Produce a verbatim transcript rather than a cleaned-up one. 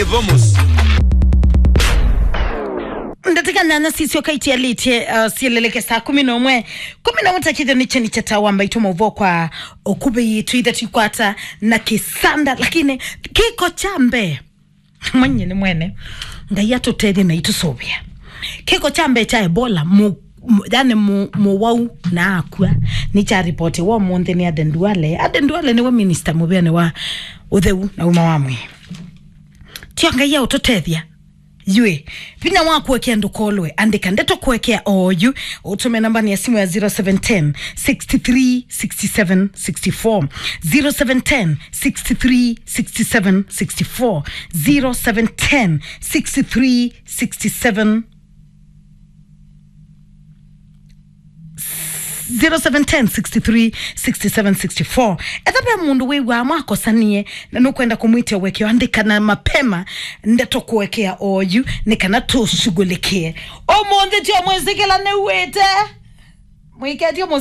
Vamos. Ndatĩka nyanya sisyoka itialĩtye, uh, sieleleke saa kumi na ũmwe. Kumi na ũmwe takĩthyo nĩkyo nĩkyatawa mbaitũ maũvoo kwa ũkuvĩ yitũ ithe twikwata na kĩsanda, lakini kĩko kya mbee mwenye nĩ mwene Ngai atũtethye na itũsũvĩa. Kĩko kya mbee kya Ebola mu, mu, yani mu, mũwau na akua nĩkyaripotiwa ũmũnthĩ nĩ Aden Duale. Aden Duale nĩwe minista mũvĩanĩ wa ũtheu na ũima wa mwĩĩ. Tio Ngai aũtũtethya. Yue, vinya wa kũekea ndũkolwe, andĩka ndeto kũekea oyu, ũtũme namba ya simu ya zero seven ten, six three, six seven, six four, zero seven ten, six three, six seven, six four, zero seven ten, six three, six seven, zero seven ten, six three, six seven, six four. Etha ve mũndũ wĩw'aa mwakosanie na nũkwenda kũmwĩtya ũekeo, andĩka na mapema ndeto kũekea oyu nĩ kana tũshughulikie. Ũmũnthĩ tio mwĩsĩkĩla nĩw'ĩte. Mwĩketio